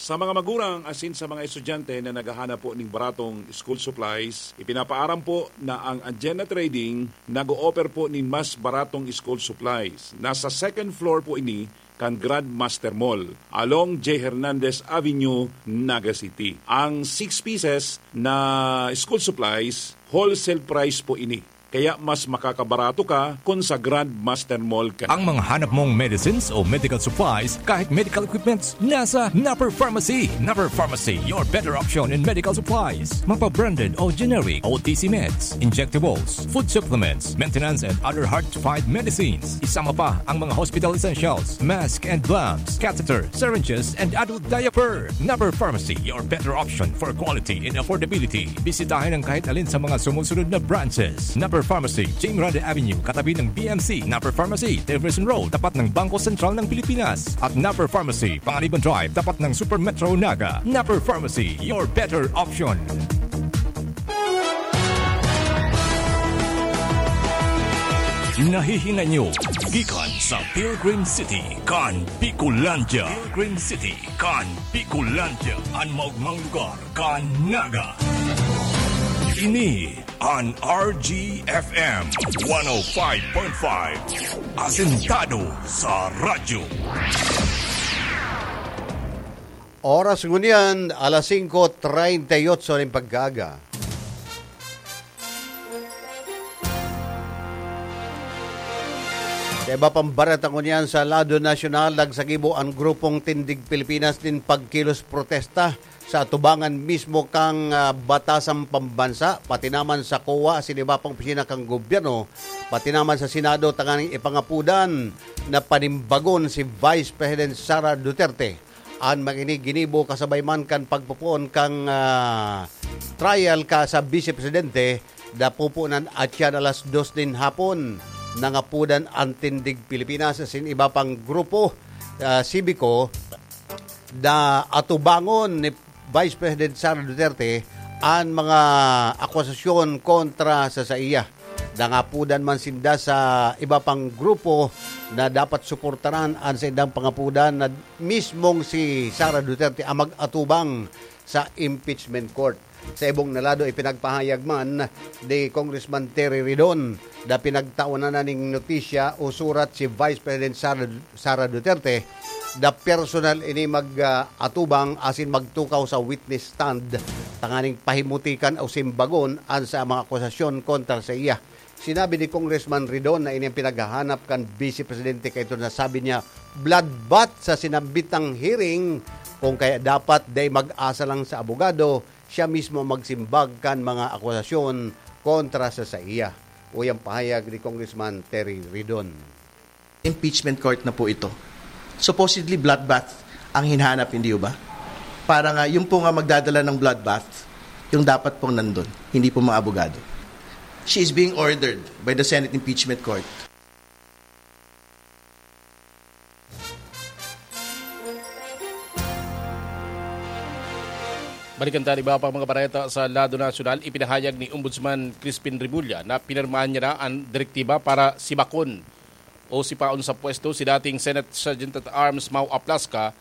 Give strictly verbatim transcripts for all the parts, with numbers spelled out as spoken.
Sa mga magurang asin sa mga estudyante na naghahanap po ning baratong school supplies, ipinapaaram po na ang Agenda Trading nag-o-offer po nin mas baratong school supplies. Nasa second floor po ini kan Grandmaster Mall, along J Hernandez Avenue, Naga City. Ang six pieces na school supplies, wholesale price po ini. Kaya mas makakabarato ka kun sa Grandmaster Mall ka. Ang mga hanap mong medicines o medical supplies, kahit medical equipments, nasa Napper Pharmacy. Napper Pharmacy, your better option in medical supplies. Mapa-branded o generic, O T C meds, injectables, food supplements, maintenance and other hard-to-find medicines. Isama pa ang mga hospital essentials, mask and gloves, catheter, syringes, and adult diaper. Napper Pharmacy, your better option for quality and affordability. Bisitahin ang kahit alin sa mga sumusunod na branches. Napper Pharmacy, James Rande Avenue, katabi ng B M C. Napper Pharmacy, Jefferson Road, tapat ng Bangko Sentral ng Pilipinas. At Napper Pharmacy, Panganiban Drive, tapat ng Super Metro Naga. Napper Pharmacy, your better option. Nahihinay nyo gikan sa Pilgrim City kan Bicolandia. Pilgrim City kan Bicolandia, an maogmang lugar kan Naga. Ini an R G F M one oh five point five, asentado sa radyo. Oras ngunyan, alas singko treinta y ocho nin pagkaaga. Sa iba pang bareta ngunyan, sa lado nasyonal, nagsagibo an Grupong Tindig Pilipinas nin pagkilos protesta sa atubangan mismo kan, ah, batasang pambansa, pati naman sa COA asin iba pang opisina kan gobyerno, pati naman sa Senado, tanganing ipangapodan na panimbagon si Vice President Sara Duterte. An mga ini ginibo kasabay man kan pagpopoon kan, ah, trial kan Vice Presidente, na pupunan atyan alas dos nin hapon. Nangapodan an Tindig Pilipinas asin iba pang grupo, ah, sibiko na atubangon ni Vice President Sara Duterte an mga akusasyon kontra sa saiya. Nangapodan man sinda sa iba pang grupo na dapat suportaran an saindang pangapodan na mismong si Sara Duterte ang mag-atubang sa impeachment court. Sa ibong na lado, ipinagpahayag man ni Congressman Terry Ridon na pinagtawanan na ning notisya o surat si Vice President Sara, Sara Duterte na personal ini mag, ah, atubang asin magtukaw sa witness stand tanganing pahimutikan o simbagon an sa mga akusasyon kontra sa iya. Sinabi ni Congressman Ridon na ini ang pinaghahanap kan Vice Presidente, kaito na sabi niya, bloodbath sa sinambitang hearing, kung kaya dapat dai mag-asa lang sa abogado, siya mismo magsimbag kan mga akusasyon kontra sa saiya. Uya an pahayag ni Congressman Terry Ridon. Impeachment court na po ito. Supposedly bloodbath ang hinahanap, hindi ba? Para nga yung po nga magdadala ng bloodbath, yung dapat pong nandun, hindi po mga abogado. She is being ordered by the Senate Impeachment Court. Balikan ta an iba pang mga bareta sa lado nasyonal. Ipinahayag ni Ombudsman Crispin Remulla na pinirmahan niya na an direktiba para sibakon o sipaon sa pwesto si dating Senate Sergeant at Arms Mau Aplasca.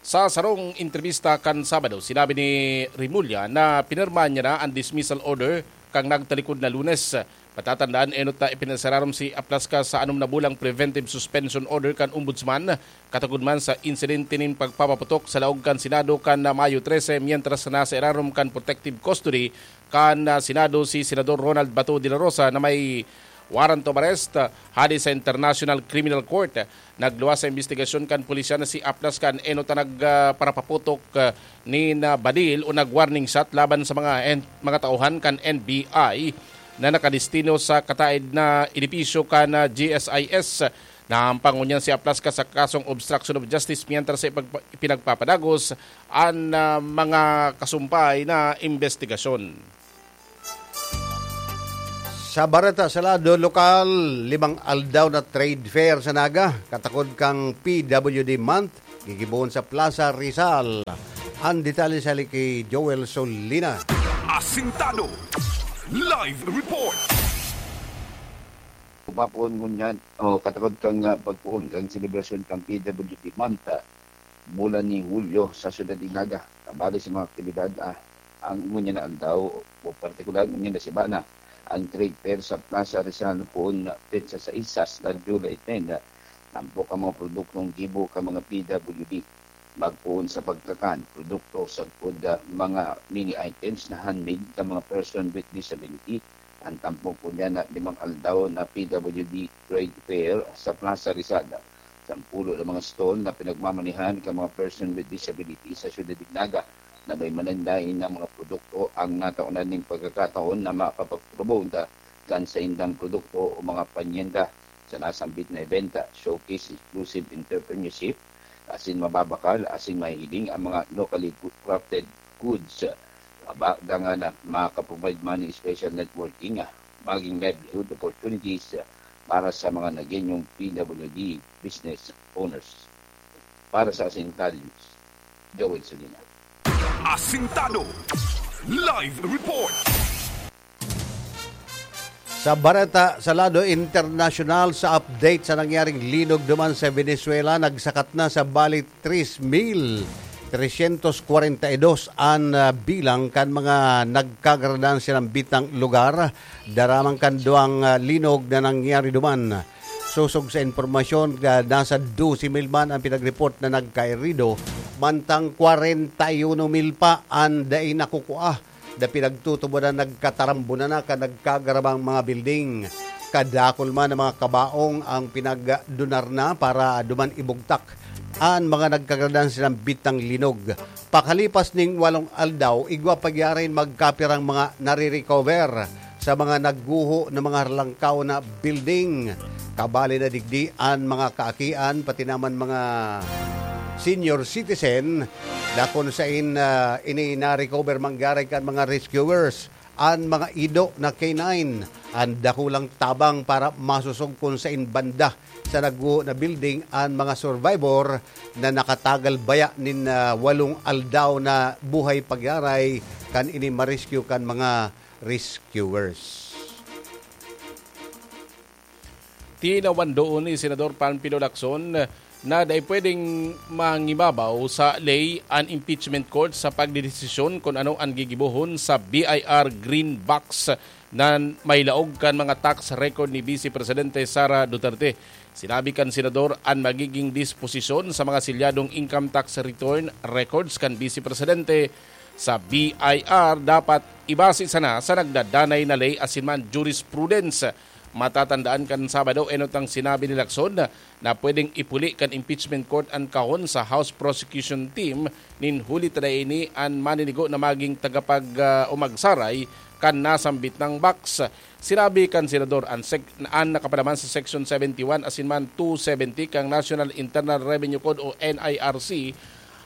Sa sarong entrebista kan Sabado, sinabi ni Remulla na pinirmahan niya na an dismissal order kan nagtalikod na Lunes. Patatandaan, enot na ipinasararom si Aplasca sa anom na bulang preventive suspension order kan Ombudsman, katagod man sa insidente nin pagpapaputok sa laog kan Senado kan Mayo trese, mientras na nasa irarom kan protective custody kan, ah, Senado si Senador Ronald Bato de la Rosa na may warrant of arrest, ah, hali sa International Criminal Court. Nagluwas sa imbestigasyon kan pulisya na si Aplasca an enot na nag, ah, parapaputok, ah, nin, ah, badil o nag-warning shot laban sa mga en-, mga tauhan kan N B I na nakadestino sa kataed na edipisyo kan, ah, G S I S. Nahampang ngunyan si Aplasca sa kasong obstruction of justice mientras sa ipagpa-, ipinagpapadagos an, ah, mga kasumpay na imbestigasyon. Sa bareta sa lado lokal, limang aldaw na trade fair sa Naga, katakod kan P W D Month, gigibohon sa Plaza Rizal. An detalye sa hali ki Joel Solina. Asintado. Live report. Papoon ngunyan, o katakod kan, ah, pagpoon kan selebrasyon kan P W D Month, ah, bulan ni Hulyo sa siyudad nin Naga. Kabali sa mga aktibidad, ah, ang ngunyan na aldaw o partikular ngunyan na semana, ang trade fair sa Plaza Rizal kun petsa sais hasta July ten. Tampok ang mga produktong gibo kan mga P W D. Magpoon sa pagkakan, produkto sagkod, ah, mga mini items na handmade kan mga person with disability. Ang tampok ngunyan na limang aldaw na P W D Trade Fair sa Plaza Rizal. Sampulo na mga stall na pinagmamanehan kan mga person with disability sa siyudad nin Naga na may mananlain na mga produkto ang nataonan nin pagkakataon na mapapagpromote kan saindang produkto o mga panyenda. Sa nasambit na event, showcase exclusive entrepreneurship, asin mababakal, asin mahihiling ang mga locally crafted goods. Mabaga nga na makaprovide man ng special networking, ah, maging livelihood opportunities, ah, para sa mga Nagueñong P W D business owners. Para sa Asintado News, Joel Solina. Asintado Live Report. Sa bareta sa lado internasyonal, sa update sa nangyaring linog duman sa Venezuela, nagsakat na sa bali tres mil tresyentos kwarenta y dos an, ah, bilang kan mga nagkagaradan sa nambitang lugar, daraman kan duwang, ah, linog na nangyari duman. Sosog sa impormasyon, ah, nasa dose mil man ang pinagreport na nagkairido, mantang kwarenta y uno mil pa an dai nakukua na pinagtutubodan nagkatarambunan na kan nagkagarabang mga building. Kadakul man na mga kabaong ang pinagdunar na para duman ibugtak an mga nagkagaradan sa nambitang linog. Pakalipas ning walong aldaw, igwa pagyarin magkapirang mga nare-recover sa mga nagguho na mga halangkaw na building. Kabali na digdi an mga kaakian, pati naman mga senior citizen, na kun sain, ah, ini na-recover manggari kan mga rescuers, an mga ido na K nine, an dakulang tabang para masosog kun sain banda sa nagguho na building an mga survivor na nakatagal baya nin, ah, walong aldaw na buhay pagyaray kan ini ma-rescue kan mga rescuers. Tinawan doon ni Senador Panfilo Lacson na dai pwedeng mangibabaw sa ley an impeachment court sa pagdedesisyon kun ano an gigibohon sa B I R Green Box na may laog kan mga tax record ni Vice Presidente Sara Duterte. Sinabi kan Senador an magiging disposisyon sa mga selyadong income tax return records kan Vice Presidente sa B I R dapat ibase sana sa nagdadanay na ley asin man jurisprudence. Matatandaan kan Sabado, enot ang sinabi ni Lacson na pwedeng ipuli kan impeachment court an kahon sa House Prosecution Team nin huli ta dai ini an maninigo na maging tagapag, ah, o magsaray kan nasambit nang box. Sinabi kan Senador an, sek- an nakapalaman sa Section seventy-one asin man two seventy kan National Internal Revenue Code o N I R C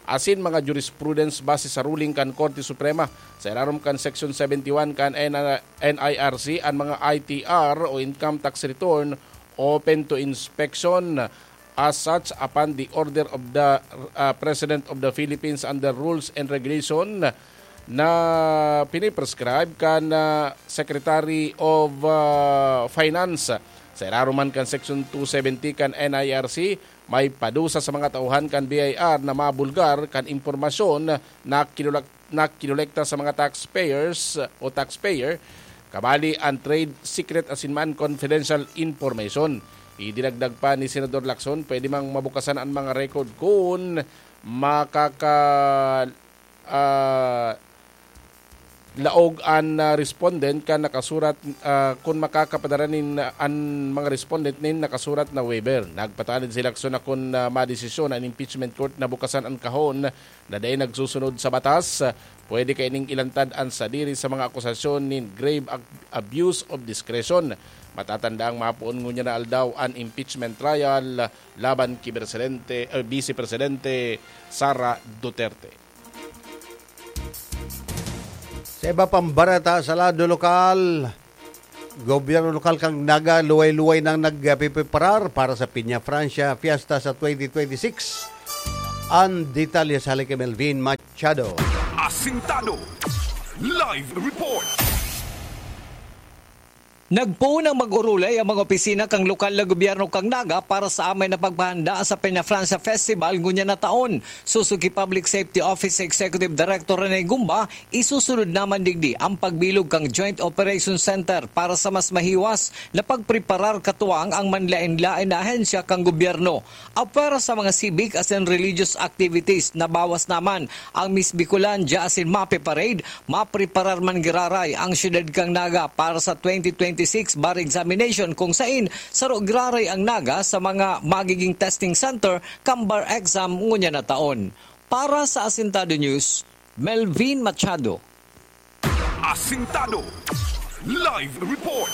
asin mga jurisprudence base sa ruling kan Korte Suprema. Sa ilarom kan Section seventy-one kan N I R C, an mga I T R o income tax return open to inspection. As such, upon the order of the, uh, President of the Philippines under rules and regulation na piniprescribe kan, uh, Secretary of, uh, Finance. Sa ilarom man kan Section two seventy kan N I R C, may padusa sa mga tauhan kan B I R na mabulgar kan impormasyon na kinulak- na kinolekta sa mga taxpayers o taxpayer, kabali an trade secret asin man confidential information. Idinagdag pa ni Senador Lacson, pwede mang mabukasan an mga record kun makaka-, ah, laog an, ah, respondent kan nakasurat, ah, kun makakapadara nin, ah, an mga respondent nin nakasurat na waiver. Nagpatanid si Lacson na kun, ah, madesisyon an impeachment court na bukasan an kahon na dai nagsusunod sa batas, pwede kaining ilantad an sadiri sa mga akusasyon nin grave ab- abuse of discretion. Matatanda ang mapoon ngunyan na aldaw an impeachment trial laban ki Presidente, eh, Vice Presidente Sara Duterte. Sa iba pang bareta sa lado lokal, gobyerno lokal kan Naga luway-luway nang nagpipreparar para sa Piña Francia Fiesta sa twenty twenty-six. Ang detalye sa hali ki Melvin Machado. Asintado Live Report. Nagpoon ang mag-orolay ang mga opisina kan lokal na gobyerno kan Naga para sa amay na paghahanda sa Peñafrancia Festival ngunyan na taon. Susugi Public Safety Office Executive Director Rene Gumba, isusunod naman digdi ang pagbilog kan Joint Operations Center para sa mas mahiwas na pagpreparar katuwang ang manlaen-laen na ahensya kan gobyerno. Apwera sa mga civic asin religious activities, nabawas naman ang Miss Bicolandia asin MAPE Parade. Mapreparar man giraray ang siyudad kan Naga para sa twenty twenty-six bar examination, kung sain saro giraray ang Naga sa mga magiging testing center kan bar exam ngunyan na taon. Para sa Asintado News, Melvin Machado. Asintado Live Report.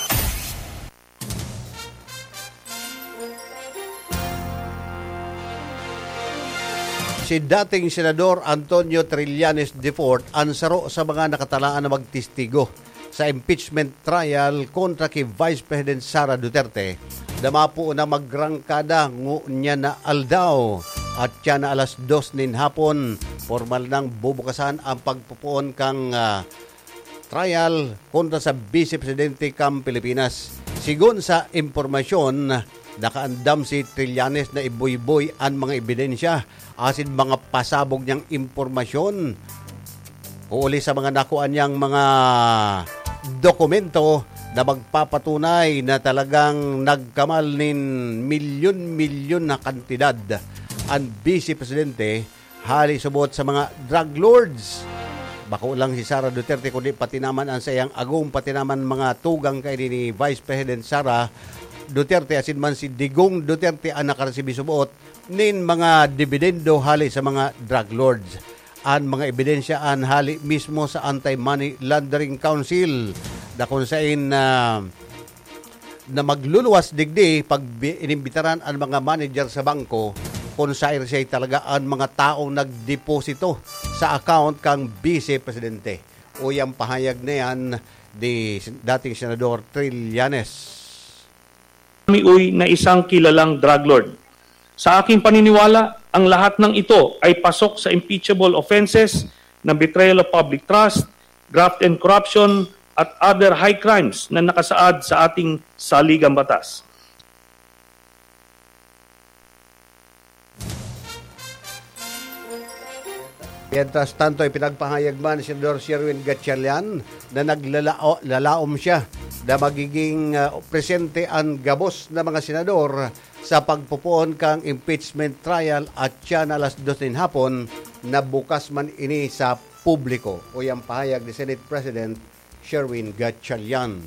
Si dating Senador Antonio Trillanes the fourth an saro sa mga nakatalaan na magtestigo sa impeachment trial kontra ki Vice President Sara Duterte, na mapoon na magrangkada ngunyan na aldaw at siya na alas dos nin hapon, pormal nang bubukasan ang pagpopoon kan, ah, trial kontra sa Vice Presidente kan Pilipinas. Sigon sa impormasyon, nakaandam si Trillanes na ibuyboy an mga ebidensya asin mga pasabog niyang impormasyon, huli sa mga nakuha niyang mga dokumento na magpapatunay na talagang nagkamal nin milyon-milyon na kantidad an Vice Presidente hali subot sa mga drug lords. Bako lang si Sara Duterte, kundi pati naman ang saiyang agom, pati naman mga tugang kaini ni Vice President Sara Duterte, asin man si Digong Duterte an nakaresibi subot nin mga dividendo hali sa mga drug lords. An mga ebidensya an hali mismo sa Anti-Money Laundering Council, na kung sain, ah, na magluluwas digdi pag bi-, inimbitaran an mga manager sa bangko kung saen siya talaga an mga taong nagdeposito sa account kan Vice Presidente. Uya an pahayag na yan ni dating Senador Trillanes. Kami, uy, na isang kilalang drug lord. Sa aking paniniwala, ang lahat ng ito ay pasok sa impeachable offenses na betrayal of public trust, graft and corruption, at other high crimes na nakasaad sa ating saligang batas. Mientras tanto, ipinagpahayag man ni Senador Sherwin Gatchalian na naglalao-, lalaom siya na magiging, ah, presente an gabos na mga senador sa pagpopoon kan impeachment trial at siya na alas dos nin hapon na bukas man ini sa publiko. Uya an pahayag ni Senate President Sherwin Gatchalian.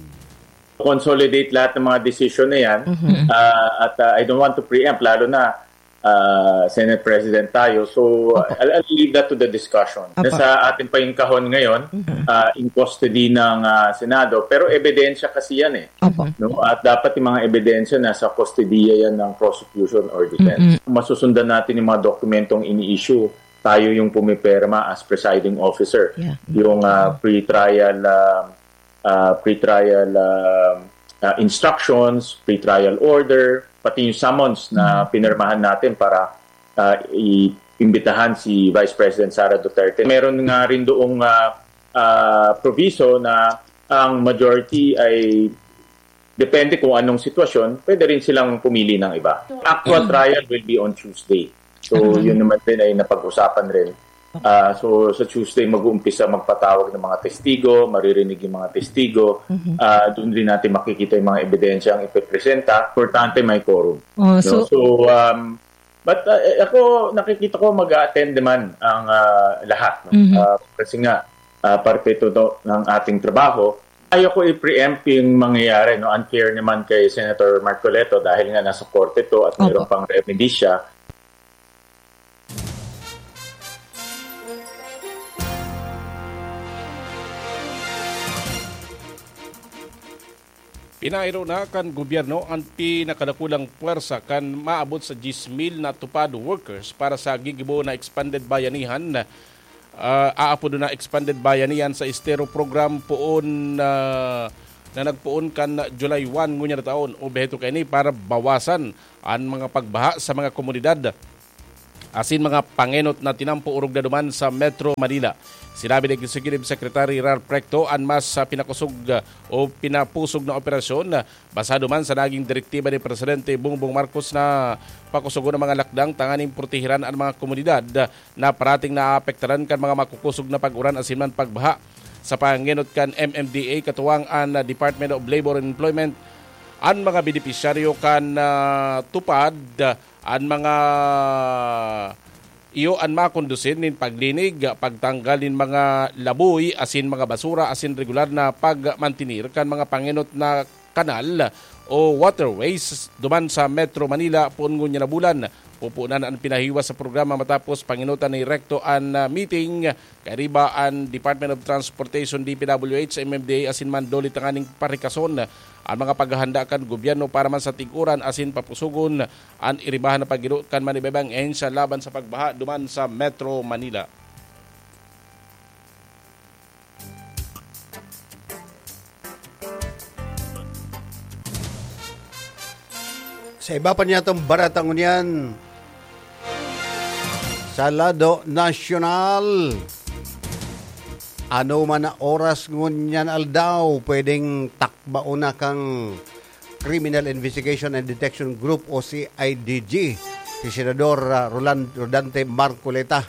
Consolidate lahat ng mga desisyon na yan. Mhm. Ah, at, ah, I don't want to preempt, lalo na, ah, Senate President tayo. So, Opo. I'll, I'll leave that to the discussion. Opo. Nasa atin pa yung kahon ngayon, Mhm. ah, in custody ng, ah, Senado. Pero ebidensya kasi yan eh. Opo. No? At dapat yung mga ebidensya nasa kustodiya yan ng prosecution or defense. Mm-mm. Masusundan natin yung mga dokumentong ini-issue. Tayo yung pumipirma as presiding officer. Yeah. Yung, ah, pre-trial, ah, ah, pre-trial, ah, ah, instructions, pre-trial order, pati yung summons na Mm. pinirmahan natin para, ah, i-, imbitahan si Vice President Sara Duterte. Meron nga rin doong, ah, ah, proviso na ang majority ay, depende kung anong sitwasyon, pwede rin silang pumili ng iba. Actual Mm. trial will be on Tuesday. So, Mm. yun naman rin ay napag-usapan rin. Ah, so, sa Tuesday, mag-uumpisa magpatawag ng mga testigo, maririnig yung mga testigo. Mhm. Ah, doon rin natin makikita yung mga ebidensya ang ipipresenta. Importante, may quorum. Oh, No? so So, um, but, ah, eh, ako, nakikita ko mag-a-attend naman ang, ah, lahat. No? Mhm. Ah, kasi nga, ah, parte ito to ng ating trabaho. Ayoko i-preempt yung mangyayari, no? Unfair naman kay Senator Marcoleta dahil nga nasa korte to at mayroon Opo. pang remedy siya. Pinairo na kan gobyerno an pinakadakulang pwersa kan maabot sa diyes mil na TUPAD workers para sa gigibo na expanded bayanihan, ah, aapod na expanded bayanihan sa Estero Program poon, ah, na nagpoon kan July one ngunyan na taon. Obheto kaini para bawasan an mga pagbaha sa mga komunidad asin mga pangenot na tinampo orog na duman sa Metro Manila. Sinabi ni Executive Secretary Ralph Recto, an mas, ah, pinakosog, ah, o pinapusog na operasyon, ah, basado man sa naging direktiba ni Presidente Bongbong Marcos na pakusogon ang mga lakdang tanganing protehiran an mga komunidad, ah, na parating naapektaran kan mga makukosog na pag-uran asin man pagbaha. Sa pangenot kan M M D A, katuwang an, ah, Department of Labor and Employment, an mga benepisyaryo kan, ah, TUPAD, ah, an mga iyo an makondusin nin paglinig, pagtanggal nin mga laboy asin mga basura asin regular na pagmantenir kan mga pangenot na kanal o waterways duman sa Metro Manila poon ngunyan na bulan. Pupunan an pinahiwas sa programa matapos pangenotan ni Recto an, ah, meeting kairiba an Department of Transportation, D P W H, M M D A asin man DOLE tanganing parikason an mga paghahanda kan gobyerno para man sa tig-uran asin papusogon an iribahan na pagiro kan manibebang ahensya laban sa pagbaha duman sa Metro Manila. Sa iba pa niyatong barata ngunyan, sa lado nasyonal, ano man na oras ngunyan aldaw, pwedeng takbaon na kang Criminal Investigation and Detection Group o C I D G, si Senador, ah, Roland Rodante Marcoleta.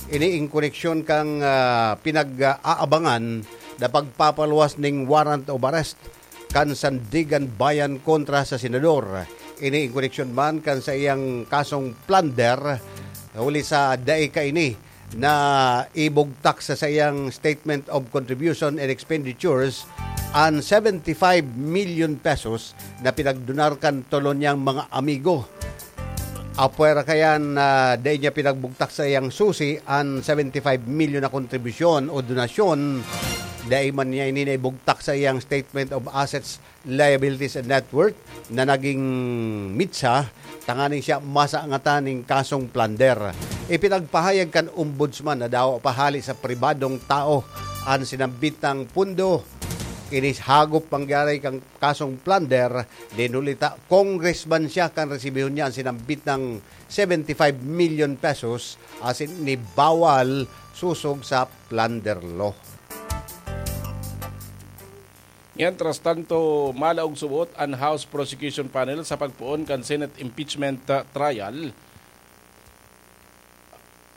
Ini in koneksyon kan, ah, pinag-aabangan na pagpapaluwas ning warrant of arrest kan Sandiganbayan kontra sa senador. Ini in koneksyon man kan sa iyang kasong plunder, huli sa dai kaini na ibugtak sa saiyang Statement of Contribution and Expenditures an seventy-five million pesos na pinagdonar kan tolo niyang mga amigo. Apwera kayan na dai niya pinagbugtak sa iyang susi an seventy-five million na kontribusyon o donasyon. Dai man niya ini naibugtak sa iyang Statement of Assets, Liabilities and Net Worth na naging mitsa, tanganing siya masangatan ning kasong plunder. Ipinagpahayag kan Ombudsman na dawa pa hali sa pribadong tao an sinambit na pondo. Ini hagop mangyari kan kasong plunder, dinulita congressman siya kan resibihon niya an sinambit na seventy-five million pesos asin ini bawal sosog sa plunder law. Mientras tanto, malaog subot an House Prosecution Panel sa pagpoon kan Senate impeachment, ah, trial,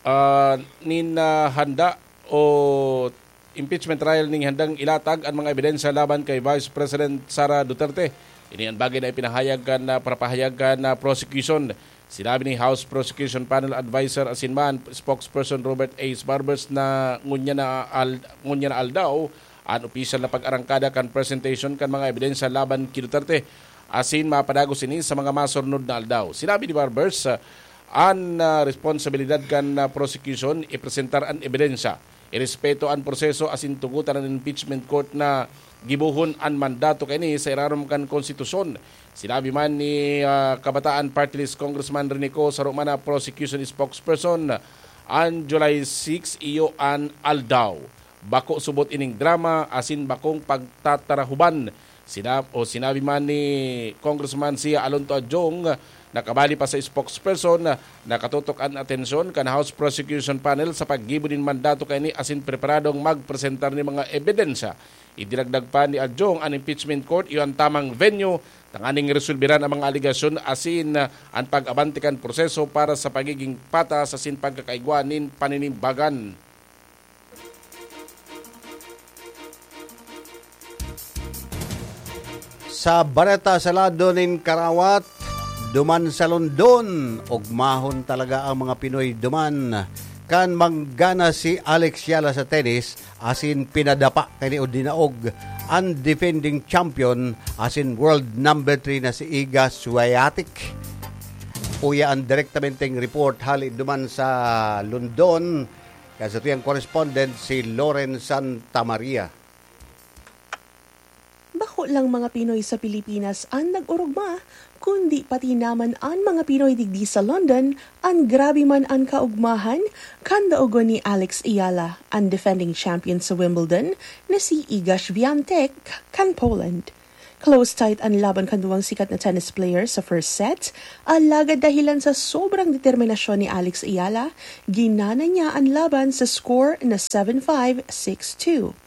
ah, nin, ah, handa o impeachment trial ning handang ilatag an mga ebidensya laban kay Vice President Sara Duterte. Ini an bagay na ipinahayag kan, ah, parapahayag kan, ah, prosecution. Sinabi ni House Prosecution Panel Advisor asin man spokesperson Robert A. Barbers na ngunyan na al-, ngunyan na aldaw an opisyal na pag-arangkada kan presentation kan mga ebidensya laban ki Duterte asin mapadagos ini sa mga masurnod na aldaw. Sinabi ni Barbers, ah, an, ah, responsibilidad kan, ah, prosecution ipresentar an ebidensya, irespeto an proseso asin tugotan an impeachment court na gibohon an mandato kaini sa irarom kan konstitusyon. Sinabi man ni, ah, Kabataan Party List Congressman Rene Co, saro man na prosecution spokesperson, an July six iyo an aldaw. Bako subot ining drama asin bakong pagtatarahuban. Sina-, o sinabi man ni Congressman Sia Alonto Adjong, nakabali pa sa spokesperson, nakatutok an atensyon kan House Prosecution Panel sa paggibo nin mandato kaini asin preparadong magpresentar nin mga ebidensya. Idinagdag pa ni Adjong, an impeachment court iyo an tamang venue tanganing resolberan ang mga alegasyon asin, ah, an pag-abante kan proseso para sa pagiging patas asin pagkakaigwa nin paninimbagan. Sa bareta sa lado nin karawat, duman sa London, ugmahon talaga ang mga Pinoy duman. Kan manggana si Alex Yala sa tennis, asin pinadapa kani o dinaog an defending champion asin world number three na si Iga Swiatek. Uya an direktamenteng report hali duman sa London, kan satuyang correspondent si Loren Santa Maria. Bako lang mga Pinoy sa Pilipinas an nag-orogma, kundi pati naman an mga Pinoy digdi sa London, an grabe man an kaugmahan kan daogon ni Alex Eala, an defending champion sa Wimbledon, na si Iga Swiatek kan Poland. Close tight an laban kan duwang sikat na tennis player sa first set, alagad dahilan sa sobrang determinasyon ni Alex Ayala, ginana niya an laban sa score na seven five, six two.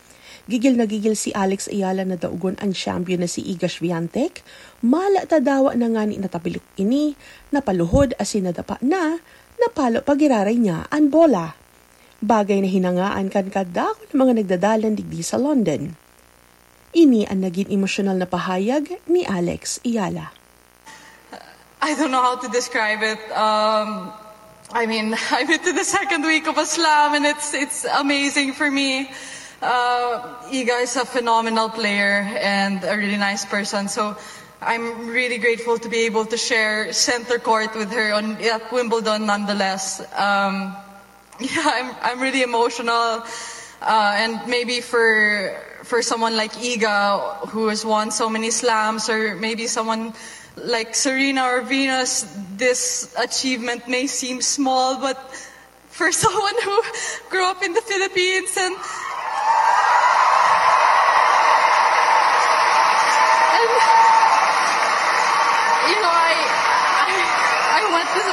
Gigil na gigil si Alex Ayala na daogon an champion na si Iga Swiatek, mala ta dawa na ngani natabilik ini, napaluhod asin nadapa na, napalo pa giraray niya an bola. Bagay na hinangaan kan kadakul na mga nagdadalan digdi sa London. Ini an nagin emosyonal na pahayag ni Alex Ayala. I don't know how to describe it. Um, I mean, I'm into the second week of a slam, and it's it's amazing for me. Uh, Iga is a phenomenal player and a really nice person. So I'm really grateful to be able to share center court with her on at Wimbledon, nonetheless. Um, yeah, I'm I'm really emotional, uh, and maybe for for someone like Iga, who has won so many slams, or maybe someone like Serena or Venus, this achievement may seem small, but for someone who grew up in the Philippines and and you know, I I I went to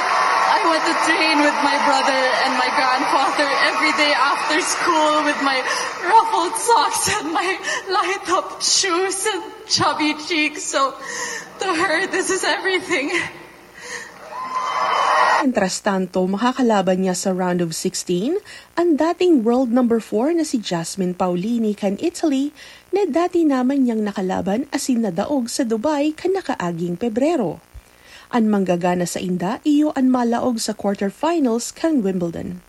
I went to train with my brother and my grandfather every day after school with my ruffled socks and my light up shoes and chubby cheeks. So to her, this is everything. Mientras tanto, makakalaban niya sa round of sixteen ang dating world number four na si Jasmine Paolini kan Italy, na dati naman niyang nakalaban asin nadaog sa Dubai kan nakaaging Pebrero. An manggagana sainda iyo an malaog sa quarterfinals kan Wimbledon.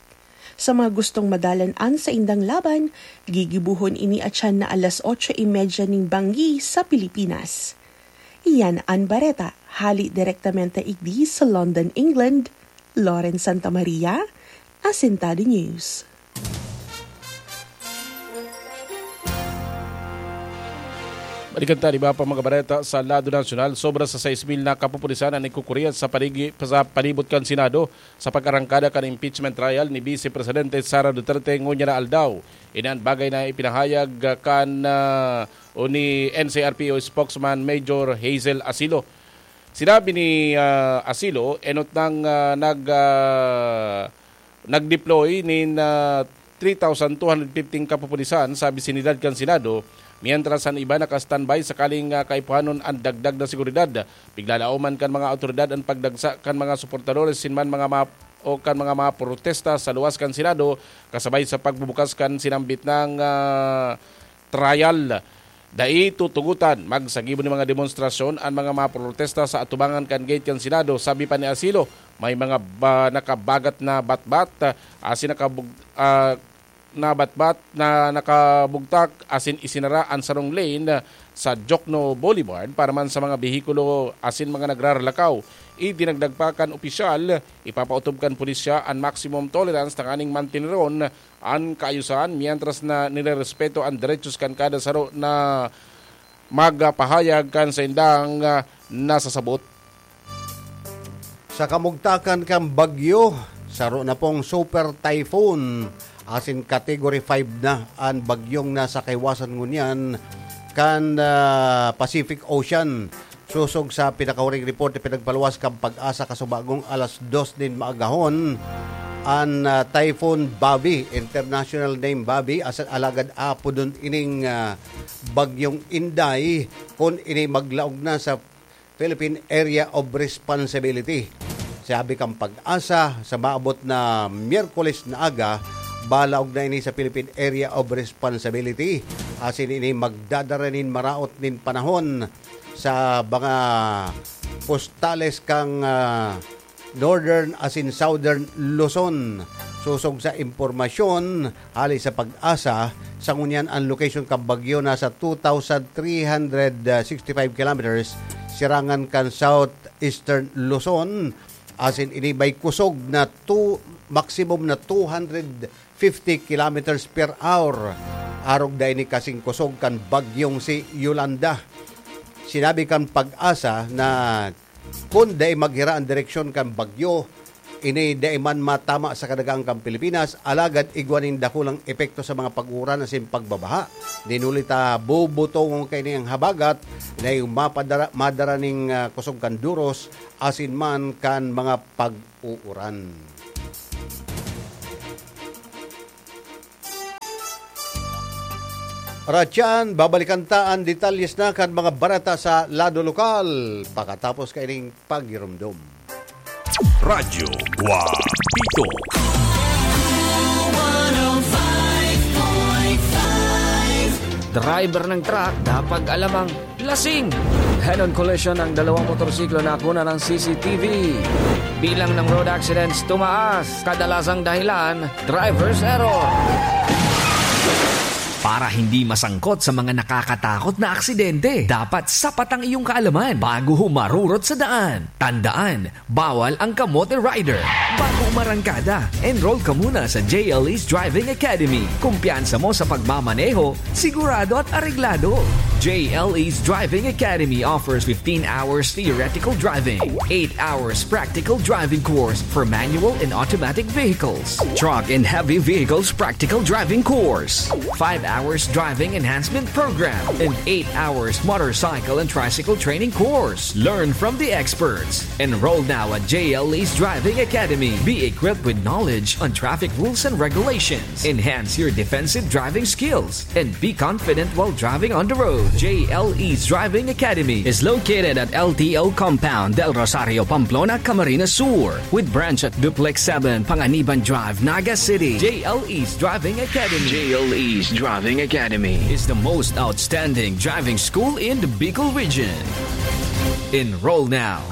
Sa mga gustong madalan an saindang laban, gigibohon ini atyan na alas otso y media ning banggi sa Pilipinas. Iyan an bareta, hali direktamente igdi sa London, England. Lauren Santa Maria, Asentado News. Balikan ta an iba pa mga bareta sa lado nasyonal. Sobra sa sais mil na kapupulisan an nagkukuriyas sa paligi-, sa palibot kan Senado sa pag-arangkada kan impeachment trial ni Vice Presidente Sara Duterte ngunyan na aldaw. Ini an bagay na ipinahayag kan, ah, o ni N C R P O spokesman Major Hazel Asilo. Sinabi ni, ah, Asilo, enot nang, ah, nag, ah, nag-deploy nin, ah, three thousand two hundred fifteen kapupulisan sa bisinidad kan Senado, mientras an iba naka-standby sakaling, ah, kaipuhanon an dagdag na seguridad. Piglalaoman kan mga awtoridad an pagdagsa kan mga suportadores sin man mga map-, o kan mga mga protesta sa luwas kan Senado, kasabay sa pagbubukas kan sinambit nang, ah, trial. Dai tutugotan, magsagibo nin mga demonstrasyon an mga maprotesta sa atubangan kan gate kan Senado, sabi pa ni Asilo. May mga ba, nakabagat na batbat, ah, asin nakabug-, ah, na batbat na nakabugtak asin isinara an sarong lane sa Jokno Boulevard para man sa mga behikulo asin mga nagraralakaw. Idinagdag pa kan opisyal, ipapaotob kan pulisya an maximum tolerance tanganing manteneron an kaayusan, mientras na nirerespeto an derechos kan kada saro na magpahayag kan saindang, ah, nasasabot. Sa kamugtakan kan bagyo, saro na pong super typhoon asin category five na an bagyong nasa kaiwasan ngunyan kan, ah, Pacific Ocean. Sosog sa pinakahuring report na pinagpaluwas kan PAGASA kasubagong alas dos nin maagahon, an, ah, Typhoon Babi, international name Babi, asin alagad apodon ining, ah, Bagyong Inday, kun ini maglaog na sa Philippine Area of Responsibility. Sabi kan PAGASA, sa maabot na Miyerkules na aga, balaog na ini sa Philippine Area of Responsibility. Asin ini magdadara nin maraot nin panahon sa mga postales kan, ah, Northern asin Southern Luzon. Sosog sa impormasyon hali sa PAGASA, sa ngunyan an location kan bagyo nasa two thousand three hundred sixty-five kilometers sirangan kan Southeastern Luzon, asin ini may kusog na two, maximum na two hundred fifty kilometers per hour. Arog da ini kasing kusog kan bagyong si Yolanda. Sinabi kan PAGASA na kun dai maghira an direksyon kan bagyo, Ini dai man matama sa kadaghan kan Pilipinas, alagad igwa nin dakulang epekto sa mga pag-uuran asin pagbabaha. Dinuli ta bubutongon kaini an habagat, dai mapadara-, madara nin, ah, kusog kan duros asin man kan mga pag-uuran. Ratian, babalikan ta an detalyes na kan mga bareta sa lado lokal pakatapos kaining paghiromdom. Radyo Guapito. Driver ng truck, dapat alamang lasing. Head-on collision ng dalawang motorsiklo na kuna ng C C T V. Bilang ng road accidents tumaas, kadalasang dahilan, driver's error. Para hindi masangkot sa mga nakakatakot na aksidente, dapat sapat ang iyong kaalaman bago humarurot sa daan. Tandaan, bawal ang kamote rider. Bago umarangkada, enroll ka muna sa J L E's Driving Academy. Kumpiyansa mo sa pagmamaneho, sigurado at areglado. J L E's Driving Academy offers fifteen hours theoretical driving, eight hours practical driving course for manual and automatic vehicles, truck and heavy vehicles practical driving course, five hours driving enhancement program, and eight hours motorcycle and tricycle training course. Learn from the experts. Enroll now at J L E's Driving Academy. Be equipped with knowledge on traffic rules and regulations. Enhance your defensive driving skills and be confident while driving on the road. J L E's Driving Academy is located at L T O Compound, Del Rosario, Pamplona, Camarines Sur, with branch at Duplex seven, Panganiban Drive, Naga City. J L E's Driving Academy. J L E's Driving Academy is the most outstanding driving school in the Bicol region. Enroll now.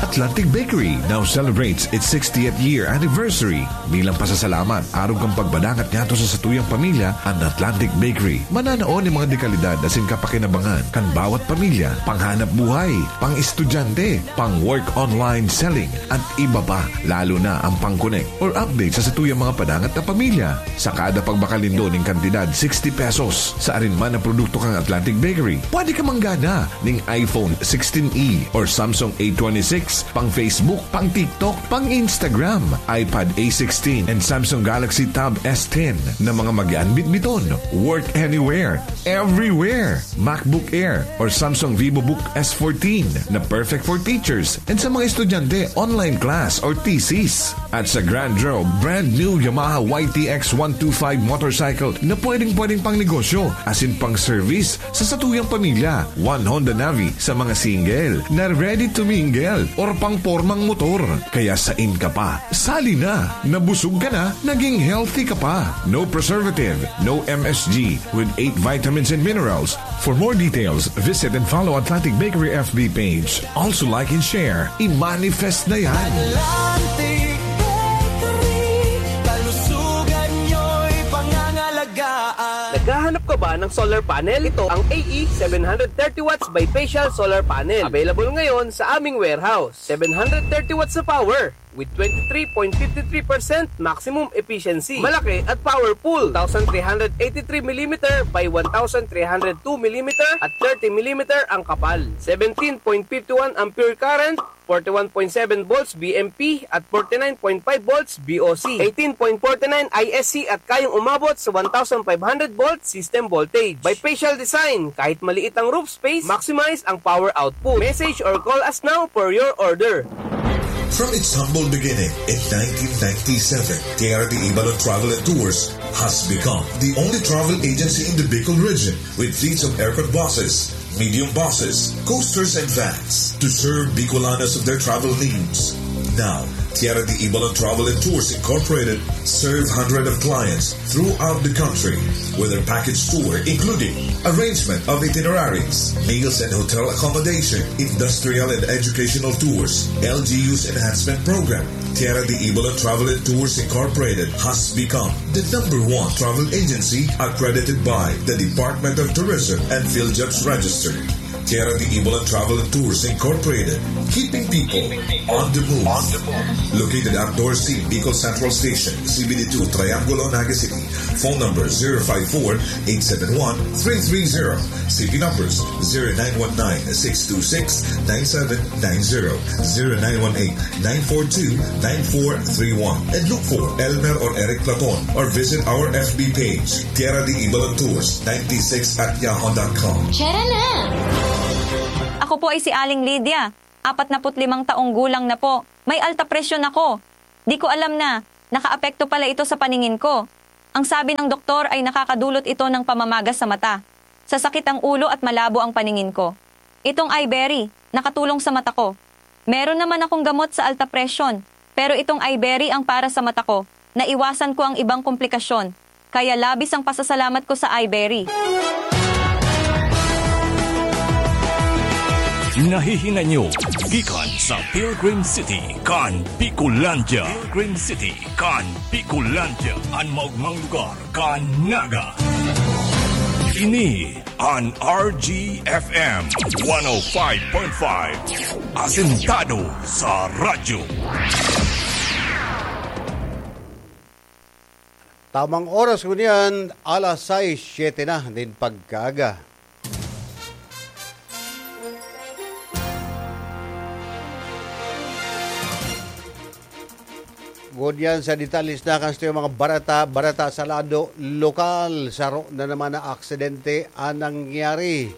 Atlantic Bakery now celebrates its sixtieth year anniversary. Bilang pasasalamat, arog kan pagpadangat ngadto sa satuyang pamilya, an Atlantic Bakery mananao nin mga dekalidad asin kapakinabangan kan bawat pamilya, panghanap buhay, pang-estudyante, pang-work online selling, at iba pa, lalo na ang pang-connect or update sa satuyang mga padangat na pamilya. Sa kada pagmakalindo nin kantidad sixty pesos sa arin man na produkto kan Atlantic Bakery, pwede ka manggana ning iPhone sixteen E or Samsung A twenty-six, pang Facebook, pang TikTok, pang Instagram, iPad A sixteen and Samsung Galaxy Tab S ten na mga magaan bitbiton. Work anywhere, everywhere. MacBook Air or Samsung VivoBook S fourteen na perfect for teachers and sa mga estudyante, online class or thesis. At sa Grand Draw, brand new Yamaha Y T X one two five motorcycle na pwedeng-pwedeng pang negosyo asin pang service sa satuyang pamilya. One Honda Navi sa mga single na ready to mingle or pang pormang motor. Kaya sain ka pa? Sali na! Nabusog ka na, naging healthy ka pa. No preservative, no M S G, with eight vitamins and minerals. For more details, visit and follow Atlantic Bakery F B page. Also like and share. I-manifest na yan. Atlantic Bakery, kalusugan nyo'y pangangalagaan. Naghahanap ka ba ng solar panel? Ito ang A E seven hundred thirty watts bifacial solar panel. Available ngayon sa aming warehouse. Seven hundred thirty watts na power with twenty-three point five three percent maximum efficiency. Malaki at powerful. Two thousand three hundred eighty-three millimeter by one thousand three hundred two millimeter at thirty millimeter ang kapal. Seventeen point five one ampere current, forty-one point seven volts V M P at forty-nine point five volts V O C. Eighteen point forty-nine I S C at kayang umabot sa one thousand five hundred volt system voltage. Bifacial design, kahit maliit ang roof space, maximize ang power output. Message or call us now for your order. From its humble beginning in nineteen ninety-seven, Tierra de Ibalon Travel and Tours has become the only travel agency in the Bicol region with fleets of aircon buses, medium buses, coasters, and vans to serve Bicolanos of their travel needs. Now, Tierra de Ibalon Travel and Tours Incorporated serve hundreds of clients throughout the country with their package tour, including arrangement of itineraries, meals and hotel accommodation, industrial and educational tours, L G U's enhancement program. Tierra de Ibalon Travel and Tours Incorporated has become the number one travel agency accredited by the Department of Tourism and PhilJobs Register. Kera de Ibolan Travel and Tours Incorporated, keeping people on the move. Located at Dorsey, Bicol Central Station, C B D two, Triangulo, Naga City. Phone number zero five four, eight seven one, three three zero. C P numbers zero nine one nine, six two six, nine seven nine zero, zero nine one eight, nine four two, nine four three one. And look for Elmer or Eric Platon or visit our F B page, Kera de Ibolan Tours ninety-six at yahoo dot com. Tara na! Ako po ay si Aling Lydia. Apat na put limang taong gulang na po. May alta presyon ako. Di ko alam na nakaapekto pala ito sa paningin ko. Ang sabi ng doktor ay nakakadulot ito ng pamamaga sa mata. Sasakit ang ulo at malabo ang paningin ko. Itong Iberry, nakatulong sa mata ko. Meron naman akong gamot sa alta presyon, pero itong Iberry ang para sa mata ko. Naiwasan ko ang ibang komplikasyon, kaya labis ang pasasalamat ko sa Iberry. Nahihinay nyo gikan sa Pilgrim City kan Bicolandia. Pilgrim City kan Bicolandia, an maogmang lugar kan Naga. Ini an R G F M one oh five point five, asentado sa radyo. Tamang oras ngunyan, alas sais, siyete na nin pagkaaga. Ngunyan sa detalye na kan satuyang mga bareta, bareta sa lado lokal. Saro na naman na aksidente an nangyari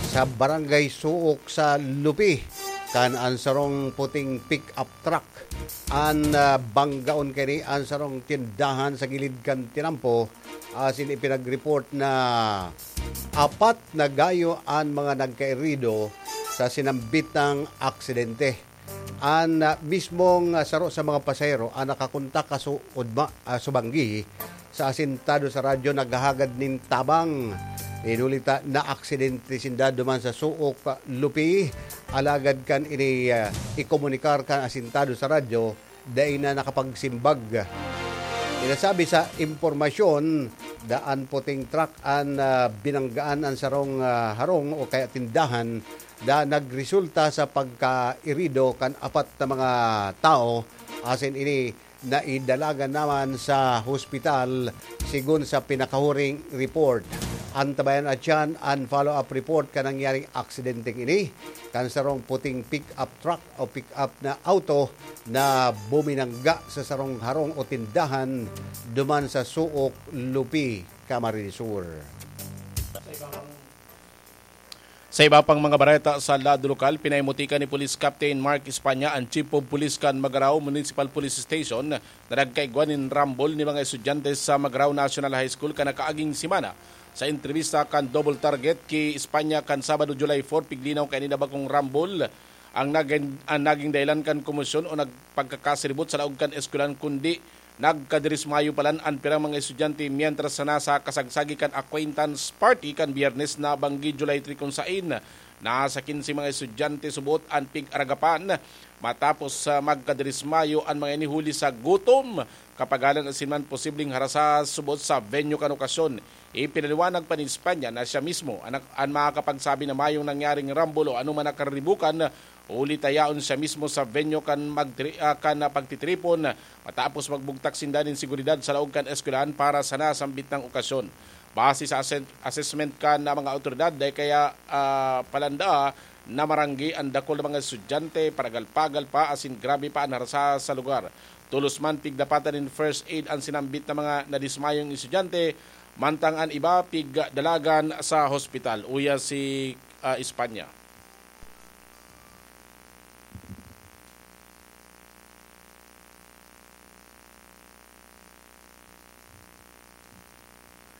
sa Barangay Suok sa Lupi, kan an sarong puting pick-up truck an, ah, banggaon kaini an sarong tindahan sa gilid kan tinampo, asin ipinag-report na apat na gayo an mga nagkairido sa sinambitang aksidente. An, ah, mismong, ah, saro sa mga pasahero an nakakontak kan su-, udma-, ah, subanggi sa asintado sa radyo naghahagad nin tabang. Huli ta naaksidente sinda duman sa Suok, ah, Lupi. Alagad kan ini, ah, ikomunikar kan asintado sa radyo, dai na nakapagsimbag. Pinasabi sa impormasyon, daan puting truck an, ah, binanggaan an sarong, ah, harong o kaya tindahan na nagresulta sa pagkairido kan apat na mga tawo, asin ini naidalagan naman sa hospital, sigon sa pinakahuring report. Antabayan at yan an follow-up report kan nangyaring aksidenteng ini, kan sarong puting pick-up truck o pick-up na auto na buminangga sa sarong harong o tindahan duman sa Suok, Lupi, Camarines Sur. Sa iba pang mga bareta sa lado lokal, pinaimutikan ni Police Captain Mark Espana, ang Chief of Police kan Magarao Municipal Police Station, na nagkaigwa nin rambol ni mga estudyante sa Magarao National High School kan nakaaging semana. Sa entrebista kan Double Target ki Espana kan Sabado, July four, piglinaw kaini na bakong rambol ang nagin-, ang naging dahilan kan komosyon o nagpagkakasiribot sa laog kan eskwelahan, kundi nagkadirismayo palan an pirang mga estudyante mientras na nasa kasagsagi kan acquaintance party kan Biyernes na banggi, July three, kun sain nasa kinse mga estudyante subot an pig-aragapan matapos, ah, magkadirismayo an mga ini huli sa gutom, kapagalan asin man posibleng harasa subot sa venue kan okasyon. Ipinaliwanag pa ni Espana na siya mismo an, an makakapagsabi na mayong nangyaring rambol o anoman na kariribukan, huli ta yaon siya mismo sa venue kan magtri-, ah, kan pagtitripon, matapos magbugtak sinda nin seguridad sa laog kan eskwelahan para sa nasambit na okasyon. Base sa assen-, assessment kan mga awtoridad, dai kaya, ah, palanda na maranggi an dakul na mga estudyante, paragal-pagal pa asin grabe pa an harasa sa lugar. Tolos man pigdapatan nin first aid an sinambit na mga nadismayong estudyante, mantang an iba pigdalagan sa hospital. Uya si, ah, Espana.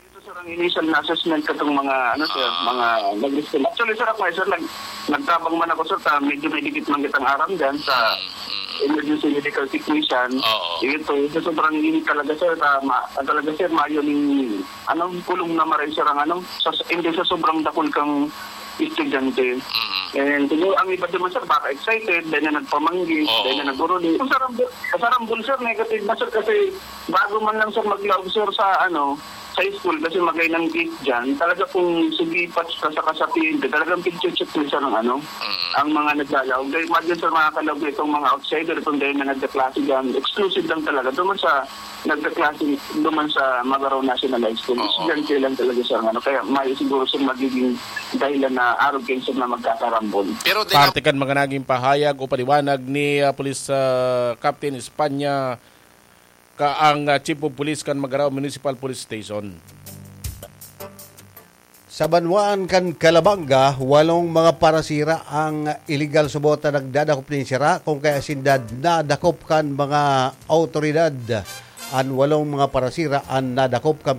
Ito, sir, ang initial na assessment katong mga, ano, sir, Ah. mga nag-respond. Actually, sir, ako, sir, nag-, nagtabang man ako, sir, sa medyo may dikit man kitang aram dyan sa Mm, mm. emergency medical technician. Oo. Ito, sa sobrang init talaga, sir, sa ma-, talaga, sir, mayo ning, ano, kulong na maray, sir, ang, ano, sa, hindi sa sobrang dakul kang estudyante. Mm. And siguro ang iba naman, sir, baka excited, dahil na nagpamanggi, Oo. dahil na naguruli. Sa rambol, sa rambol, sir, negative na, sir, kasi bago man lang, sir, maglaog, sir, sa, ano, sa school kasi magay ng gate dyan, talaga kung sumipat ka sa kasapin, talagang picture check nila ng ano, ang mga naglalaog. Dahil imagine sa mga kalaog na itong mga outsider, itong dahil na nagkaklase dyan, exclusive lang talaga. Doon sa nagkaklase, doon sa Magarao National High School, Oo. Estudyante lang talaga sa ano. Kaya may siguro sa magiging dahilan na arog kayo sa mga magkakarambol. Pero din ang Parte kan mga naging pahayag o paliwanag ni ah, Police ah, Captain Espanya ka ang ah, Chief of Police kan Magarao Municipal Police Station. Sa banwaan kan Calabanga, walong mga parasira ang illegal subot na nagdadakop nin sira, kung kaya sinda nadakop kan mga autoridad. An walong mga parasira an nadakop kan